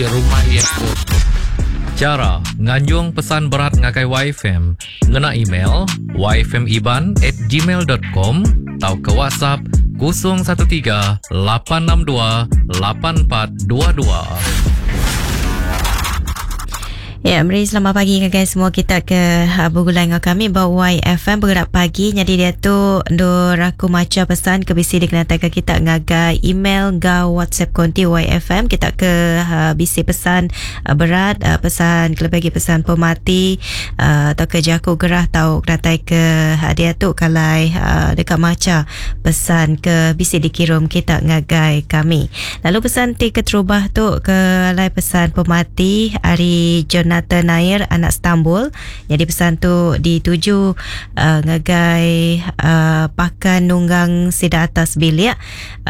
Rumah iya tu. Chara nganjung pesan berat ngagai YFM ngena email yfmiban@gmail.com tauka WhatsApp 013 862 8422. Ya, meri selamat pagi ngagai semua kita ke uh, begulai enggau kami ba YFM bergerak pagi. Nyadi dia tu endur aku macha pesan ke bisi dikenataika kita ngagai email enggau WhatsApp konti YFM kita ke uh, bisi pesan uh, berat, uh, pesan kelebih agi pesan pemati uh, tauka jaku gerah tau kenatai ke uh, diatu kalai uh, deka macha pesan ke bisi dikirum kita ngagai kami. Lalu pesan ti keterubah tu ke alai pesan pemati ari Jonathan Nair anak Stambul. Nyadi pesan tu dituju uh, ngagai uh, pakan nunggang sida atas bilik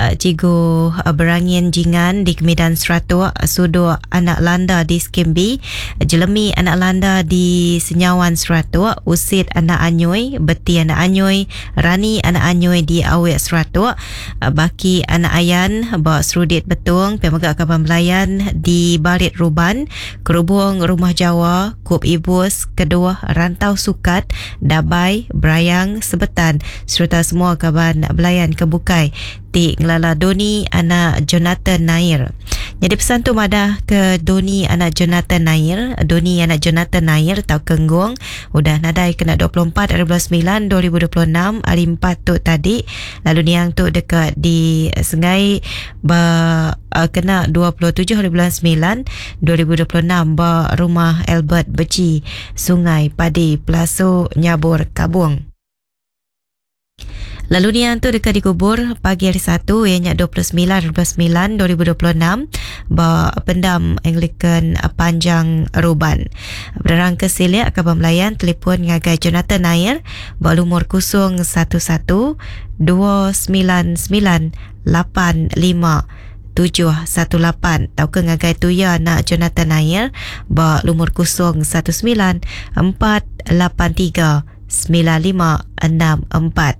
uh, Cikgu uh, Berangin Jingan di Kemidan Seratuk, Suduk anak Landa di Skim B, Jelemi anak Landa di Senyawan Seratuk, Usit anak Anyoi, Beti anak Anyoi, Rani anak Anyoi di Awik Seratuk, Baki anak Ayan ba Serudit Betong, pia mega kaban belayan di Barit Ruban, Kerubung Rumah Jawa, Kup Ibus, Keduh, Rantau Sukat, Dabai, Brayang, Sebetan sereta semua kaban belayan ke bukai ti ngelala Doni anak Jonathan Nair. Nyadi pesan tu madah ke Doni anak Jonathan Nair, Doni anak Jonathan Nair tauka Nggong udah nadai kena 24 ari bulan semilan 2026 hari empat tu tadi lalu niang tu deka disengai ba uh, kena 27 hari bulan 9 2026 ba Rumah Albert Beci, Sungai Padi, Pelasu, Nyabur, Kabong. Lalu niang tu deka dikubur pagi hari Satu iya nya 29 hari bulan 9 2026 ba Pendam Anglican Panjang Ruban. Penerang ke silik kaban belayan telefon ngagai Jonathan Nair ba lumur 011 299 85 718 tauka ngagai tuya anak Jonathan Nair ba lumur 019 483 9564.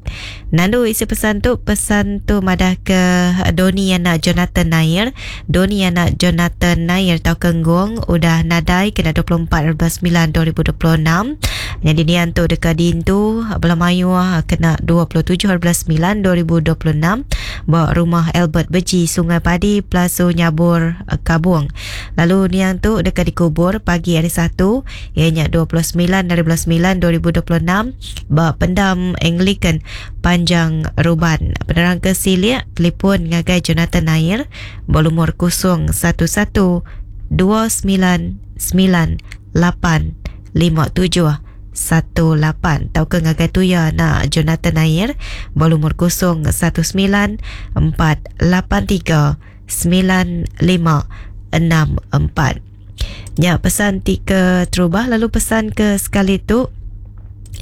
Nandu isi pesan tu, pesan tu madah ke Doni anak Jonathan Nair. Doni anak Jonathan Nair tauka Nggong udah nadai kena 24 9 2026. Nyadi nian tu deka diintu bala mayuh kena 27 9 2026 ba Rumah Albert Beji, Sungai Padi, Pelasu Nyabur, Kabong. Lalu niang tu deka dikubur pagi hari Satu iya nya 29 hari bulan 9 2026 ba Pendam Anglican Panjang Ruban. Penerang ke silik telefon ngagai Jonathan Nair ba lumur 011 299 857 18 tauka ngagai tuya anak Jonathan Nair ba lumur 019 483 9564. Nya pesan ti ke terubah lalu pesan ke sekali tu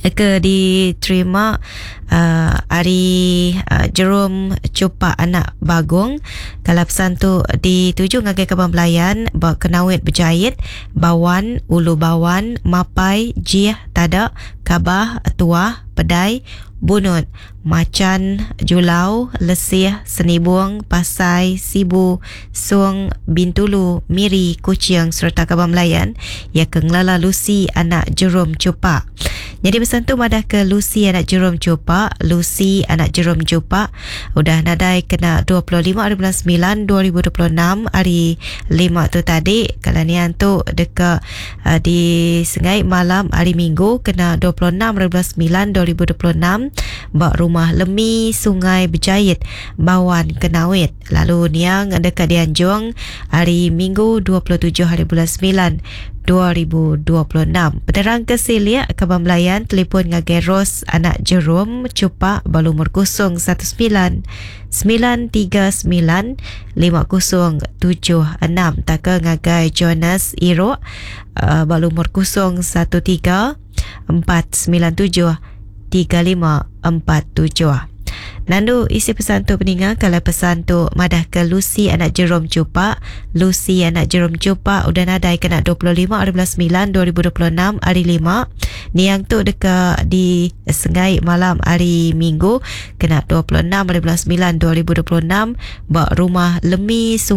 ke diterima uh, ari uh, Jerome Chupak anak Bagong. Kalau pesan tu dituju ngagai kaban belayan ba Kenawit Bejait, Bawan, Ulu Bawan, Mapai, Jih, Tada, Kabah, Tuah, Pedai, Bunut, Machan, Julau, Lesih, Senibung, Pasai, Sibu, Song, Bintulu, Miri, Kuching sereta kaban belayan iya ke ngelala Lucy anak Jerome Chupak. Nyadi pesan tu madah ke Lucy anak Jerome Chupak, Lucy anak Jerome Jupak udah nadai kena 25 hari bulan 9 2026 hari 5 tu tadi. Kalau nian tu deka uh, di Sengai malam hari Minggu kena 26 hari bulan 9 2026 ba Rumah Lemi Sungai Bejait Bawan Kenawit. Lalu niang deka dianjung hari Minggu 27 hari bulan 9 2026. Penerang ke silik kaban belayan telefon ngagai Rose anak Jerome Chupak ba lumur 019 939 5076 taka ngagai Jonas Irok uh, ba lumur 013 497 3547. Nandu isi pesan tu peninga kalau pesan tu madah ke Lucy anak Jerome Chupak. Lucy anak Jerome Chupak udah nadai kena 25 hari bulan 9 2026 hari 5. Niang tu deka di Sengai malam hari Minggu kena 26 hari bulan 9 2026 ba Rumah Lemi Sungai.